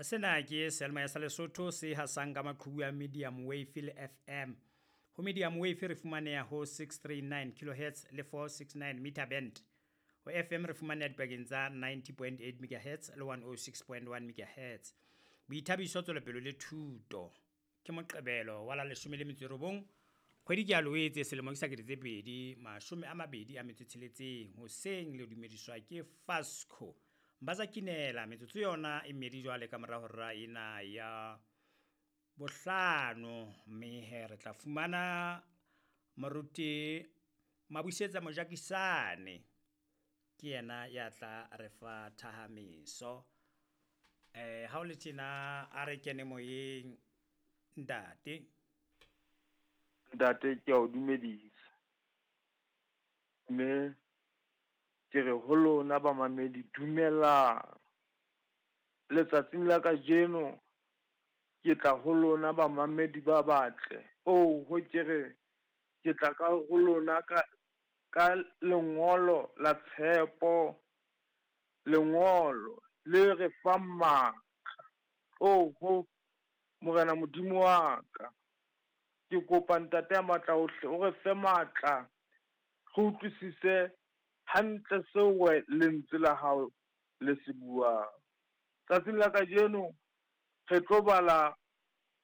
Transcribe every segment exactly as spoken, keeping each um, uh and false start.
Sena ke seyalemoya sa Lesotho se hasang ka maqhubu a medium wave le F M. Ho medium wave re fumaneha ho six three nine kilohertz le four six nine meter band. Ho F M re fumaneha dipakeng tsa ninety point eight megahertz le one oh six point one megahertz. Boithabiso, tswelopele le thuto. Ke Moqebelo wa la leshome le metso e robong, kgwedi ke ya Loetse, selemo ke sa kete tse pedi mashome a mabedi a metso e tsheletseng. Hoseng le dumediswa ke Fasco Mbaza Kinela. Metsotso yona e mmedi jwale ka mora hora ena ya bohlano, mme he re tla fumana moruti Mabusetsa Mojakisane, ke yena ya tla re fa thahamiso. Eh ha o le tjena, a re kene moyeng, ntate. Ntate, ke a o dumedisa. Mme ke re ho lona bamamedi, dumelang. Letsatsing la kajeno ke tla ho lona bamamedi ba batle. Oh ho ke re ke tla ka ho lona ka ka lengolo la tshepo, lengolo le re fang matla. Oh ho Morena Modimo wa ka, ke kopa ntate ya matla ohle o re fe matla, re utlwisise hantle seo lentswe la hao le se buang. Tsatsing la kajeno re tlo bala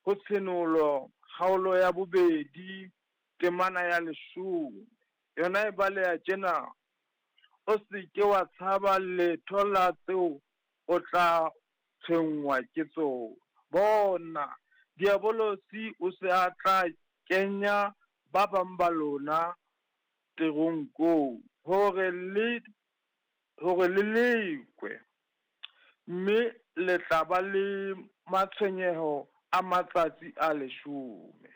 ho Tshenolo kgaolo ya bobedi, temana ya leshome. Yona e baleha tjena: o se ke wa tshaba letho la tseo o tla tshwenngwa ke tsona. Bona, Diabolosi o se a tla kenya ba bang ba lona teronkong, hore le hore le lekwe, mme le tla ba le matshwenyeho a matsatsi a leshome.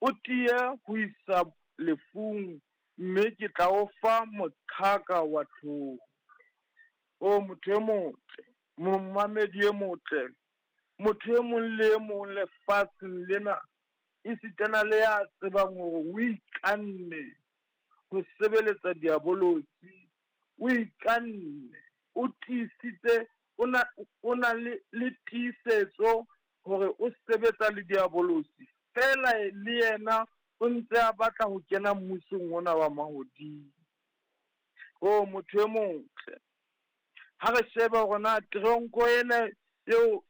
O tiye ho isa lefung, mme ke tla o fa moqhaka wa tlholo. O motho e motle, momamedi e motle, motho e mong le e mong lefatsheng lena, esitana le ya tsebang hore o ikanne ho sebeletsa Diabolosi, o ikanne, o tiisitse, o na, o na le, le tiisetso hore o sebetsa le Diabolosi, fela le yena o ntse a batla ho kena mmusong ona wa mahodimo. O motho e motle, ha re shebe hore na teronko ena eo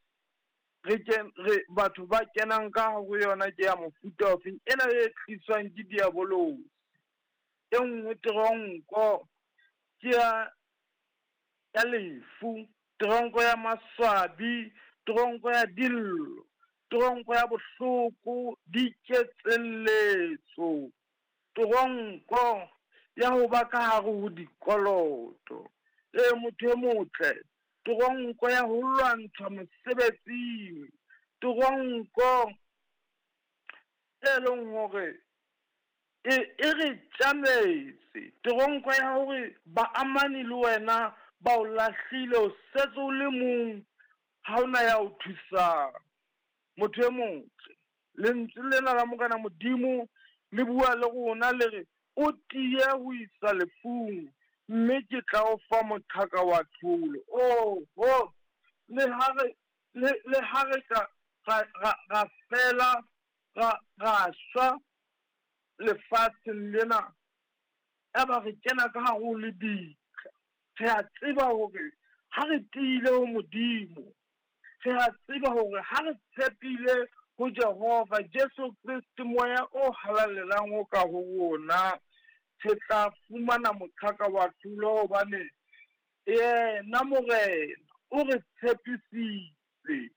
re ken, re batho ba kenang ka ho yona ke ya mofuta ofeng, ena e tliswang ke Diabolosi. E nngwe teronko ke ya, ya lefu, teronko ya maswabi, teronko ya dillo, teronko ya bohloko, diketselletso, teronko ya ho ba ka hare ho dikoloto. E motho e motle, teronko ya ho lwantshwa mosebetsing, teronko e leng hore e, e re tjametse, teronko ya hore baamani le wena ba o lahlile, o setse o le mong, ha ona ya o thusang. Motho e motle, lentswe lena la Morena Modimo le bua le rona le re, o tiye ho isa lefung, mme ke tla o fa moqhaka wa tlholo. Oh, oh, le ha re, le, le ha re ka, ra, ra, ra fela, ra, ra shwa lefatsheng lena, eba re kena ka hare ho lebitla, re a tseba hore ha re tiile ho Modimo, re a tseba hore ha re tshepile ho Jehova Jesu Kriste, moya o halalelang o ka ho rona, re tla fumana moqhaka wa tlholo, hobane yena Morena o re tshepisitse.